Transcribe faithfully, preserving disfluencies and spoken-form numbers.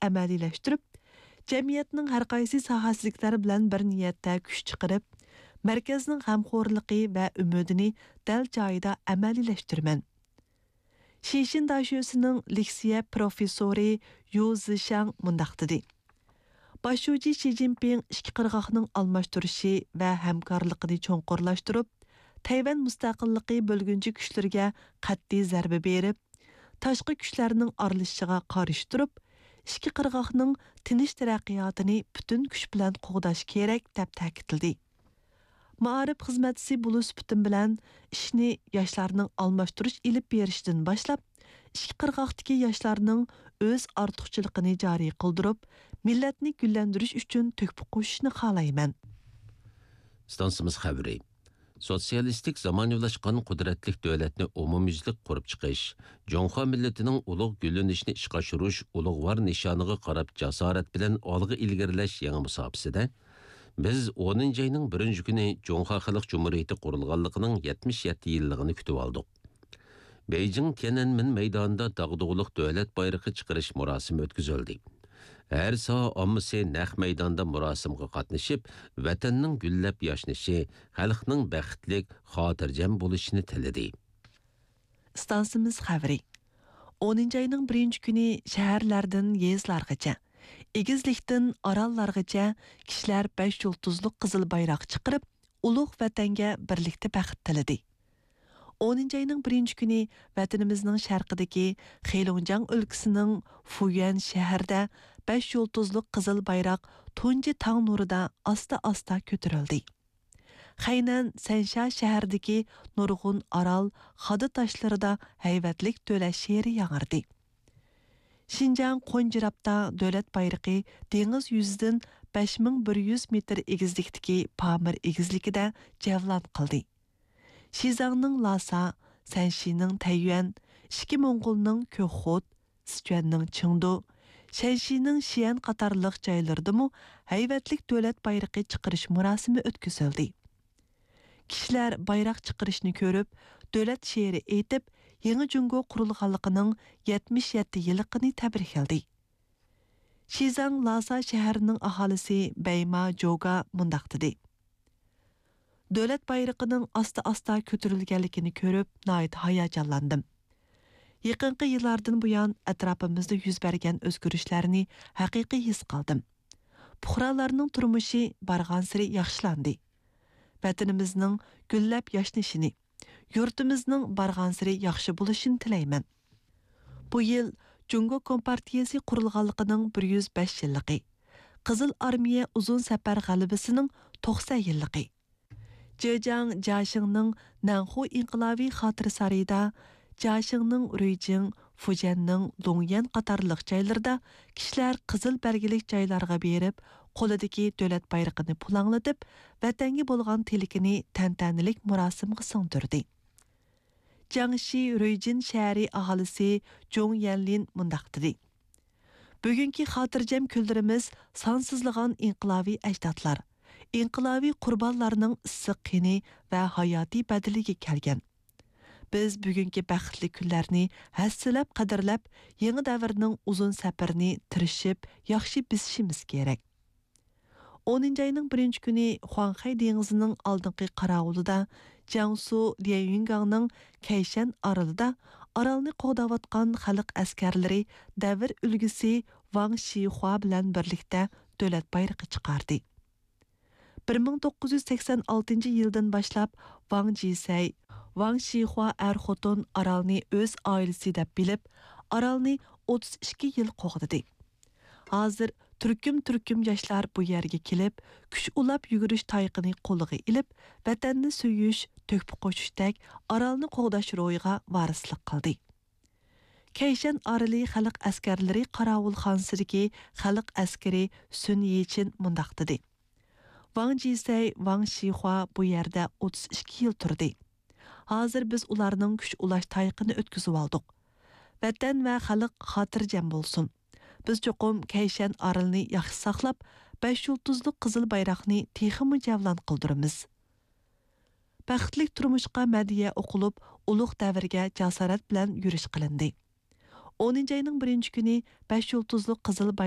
ئەمەلىيلەشتۈرۈپ، جەمئىيەتنىڭ ھەر قايسى ساھەسىدىكىلەر بىلەن بىر نىيەتتە كۈچ چىقىرىپ، مەركەزنىڭ غەمخورلۇقى ۋە ئۈمىدىنى دەل جايىدا ئەمەلىيلەشتۈرىمەن. شىشىن داشۆسىنىڭ لېكسىيە پروفېسسورى يۇ زىشاڭ مۇنداق دېدى: باش شۇجى شى جىنپىڭ ئىككى قىرغاقنىڭ ئالماشتۇرۇشى ۋە ھەمكارلىقىنى چوڭقۇرلاشتۇرۇپ، تەيۋەن مۇستەقىللىقى بۆلگۈنچى كۈچلىرىگە قەتئىي زەربە بېرىپ، تاشقى كۈچلەرنىڭ ئارىلىشىشىغا قارشى تۇرۇپ، ئىككى قىرغاقنىڭ تىنچ تەرەققىياتىنى پۈتۈن كۈچ بىلەن قوغداش كېرەك، دەپ تەكىتلىدى. مائارىپ خىزمەتچىسى بولۇش سۈپىتىم بىلەن ئىشنى ياشلارنىڭ ئالماشتۇرۇش ئېلىپ بېرىشىدىن باشلاپ، ئىككى قىرغاقتىكى ياشلارنىڭ ئۆز ئارتۇقچىلىقىنى جارى قىلدۇرۇپ، مىللەتنى گۈللەندۈرۈش ئۈچۈن تۆھپە قوشۇشىنى خالايمەن. ئىستانسىمىز خەۋىرى. سوتسىيالىستىك زامانىۋىلاشقان قۇدرەتلىك دۆلەتنى ئومۇميۈزلۈك قۇرۇپ چىقىش، جۇڭخۇا مىللىتىنىڭ ئۇلۇغ گۈللىنىشىنى ئىشقا ئاشۇرۇش ئۇلۇغۋار نىشانىغا قاراپ جاسارەت بىلەن ئالغا ئىلگىرىلەش يېڭى مۇساپىسىدە، بىز ئونىنچى ئاينىڭ بىرىنچى كۈنى جۇڭخۇا خەلق جۇمھۇرىيىتى قۇرۇلغانلىقىنىڭ يەتمىش يەتتە يىللىقىنى كۈتۈۋالدۇق. بېيجىڭ تيەنئەنمېن مەيدانىدا داغدۇغىلىق دۆلەت بايرىقى چىقىرىش مۇراسىمى ئۆتكۈزۈلدى. ھەر ساھە ئاممىسى نەق مەيداندا مۇراسىمغا قاتنىشىپ، ۋەتەننىڭ گۈللەپ ياشنىشى، خەلقنىڭ بەختلىك، خاتىرجەم بولۇشىنى تىلىدى. ئىستانسىمىز خەۋىرى. ئونىنچى ئاينىڭ بىرىنچى كۈنى شەھەرلەردىن يېزىلارغىچە، ئېگىزلىكتىن ئاراللارغىچە كىشىلەر بەش يۇلتۇزلۇق قىزىل بايراق چىقىرىپ، ئۇلۇغ ۋەتەنگە بىرلىكتە بەخت تىلىدى. ئونىنچى ئاينىڭ بىرىنچى كۈنى ۋەتىنىمىزنىڭ شەرقىدىكى خېلۇڭجياڭ ئۆلكىسىنىڭ فۇيۈەن شەھىرىدە بەش يۇلتۇزلۇق قىزىل بايراق تۇنجى تاڭ نۇرىدا ئاستا-ئاستا كۆتۈرۈلدى. خەينەن سەنشيا شەھىرىدىكى نۇرغۇن ئارال خادا تاشلىرىدا ھەيۋەتلىك دۆلەت شېئىرى ياڭرىدى. شىنجاڭ قونجىرابتا دۆلەت بايرىقى دېڭىز يۈزىدىن بەش مىڭ بىر يۈز مېتىر ئېگىزلىكتىكى پامىر ئېگىزلىكىدە جەۋلان قىلدى. شىزاڭنىڭ لاسا، سەنشىنىڭ تەييۈەن، ئىچكى موڭغۇلنىڭ كۆكخوت، سىچۈەننىڭ چېڭدۇ، شەنشىنىڭ شىئەن قاتارلىق جايلىرىدىمۇ ھەيۋەتلىك دۆلەت بايرىقى چىقىرىش مۇراسىمى ئۆتكۈزۈلدى. كىشىلەر بايراق چىقىرىشنى كۆرۈپ، دۆلەت شېئىرى ئېيتىپ، يېڭى جۇڭگو قۇرۇلغانلىقىنىڭ يەتمىش يەتتە يىللىقىنى تەبرىكلىدى. شىزاڭ لاسا شەھىرىنىڭ ئاھالىسى بەيما جوگا مۇنداق دېدى: دۆلەت بايرىقىنىڭ ئاستا-ئاستا كۆتۈرۈلگەنلىكىنى كۆرۈپ، ناھايىتى ھاياجانلاندىم. يېقىنقى يىللاردىن بۇيان، ئەتراپىمىزدا يۈز بەرگەن ئۆزگىرىشلەرنى ھەقىقىي ھېس قىلدىم. پۇقرالارنىڭ تۇرمۇشى بارغانسېرى ياخشىلاندى. ۋەتىنىمىزنىڭ گۈللەپ ياشنىشىنى، يۇرتىمىزنىڭ بارغانسېرى ياخشى بولۇشىنى تىلەيمەن. بۇ يىل جۇڭگو كومپارتىيەسى قۇرۇلغانلىقىنىڭ بىر يۈز بەش يىللىقى، قىزىل ئارمىيە ئۇزۇن سەپەر غەلىبىسىنىڭ توقسەن يىللىقى، جېجياڭ جياشىڭنىڭ نەنخۇ ئىنقىلابىي خاتىرە سارىيىدا، جياشىڭنىڭ رۇيجىڭ، فۇجيەننىڭ لۇڭيەن قاتارلىق جايلىرىدا كىشىلەر قىزىل بەلگىلىك جايلارغا بېرىپ، قولىدىكى دۆلەت بايرىقىنى پۇلاڭلىتىپ، ۋەتەنگە بولغان تىلىكىنى تەنتەنىلىك مۇراسىمغا سىڭدۈردى. جياڭشى رۇيجىن شەھىرى ئاھالىسى جۇڭ يەنلىن مۇنداق دېدى: بۈگۈنكى خاتىرجەم كۈنلىرىمىز سانسىزلىغان ئىنقىلابىي ئەجدادلار، ئىنقىلابىي قۇربانلارنىڭ ئىسسىق قېنى ۋە ھاياتىي بەدىلىگە كەلگەن. بىز بۈگۈنكى بەختلىك كۈنلەرنى ھەسسىلەپ قەدىرلەپ، يېڭى دەۋرنىڭ ئۇزۇن سەپىرىنى تىرىشىپ ياخشى بېسىشىمىز كېرەك. ئونىنچى ئاينىڭ بىرىنچى كۈنى خۇاڭخەي دېڭىزىنىڭ ئالدىنقى قاراۋۇلىدا، جياڭسۇ ليەنيۈنگاڭنىڭ كەيشەن ئارىلىدا ئارالنى قوغداۋاتقان خەلق ئەسكەرلىرى دەۋر ئۈلگىسى ۋاڭ شىخۇا بىلەن بىرلىكتە دۆلەت بايرىقى چىقاردى. بىر مىڭ توققۇز يۈز سەكسەن ئالتىنچى يىلدىن باشلاپ ۋاڭ جىسەي، ۋاڭ شىخۇا ئەر-خوتۇن ئارالنى ئۆز ئائىلىسى دەپ بىلىپ، ئارالنى ئوتتۇز ئىككى يىل قوغدىدى. ھازىر تۈركۈم-تۈركۈم ياشلار بۇ يەرگە كېلىپ، كۈچ ئۇلاپ يۈگۈرۈش تايىقىنى قولىغا ئېلىپ، ۋەتەننى سۆيۈش، تۆھپە قوشۇشتەك ئارالنى قوغداش روھىغا ۋارىسلىق قىلدى. كەيشەن ئارىلى خەلق ئەسكەرلىرى قاراۋۇلخانىسىدىكى خەلق ئەسكىرى سۈن يىچىن مۇنداق دېدى: ۋاڭ جىسەي، ۋاڭ شىخۇا بۇ يەردە ئوتتۇز ئىككى يىل تۇردى. ھازىر بىز ئۇلارنىڭ كۈچ ئۇلاش تايىقىنى ئۆتكۈزۈۋالدۇق. ۋەتەن ۋە خەلق خاتىرجەم بولسۇن. بىز چوقۇم كەيشەن ئارىلىنى ياخشى ساقلاپ، بەش يۇلتۇزلۇق قىزىل بايراقنى تېخىمۇ جەۋلان قىلدۇرىمىز. بەختلىك تۇرمۇشقا مەدھىيە ئوقۇلۇپ، ئۇلۇغ دەۋرگە جاسارەت بىلەن يۈرۈش قىلىندى. ئونىنچى ئاينىڭ بىرىنچى كۈنى بەش يۇلتۇزلۇق قىزىل بايراق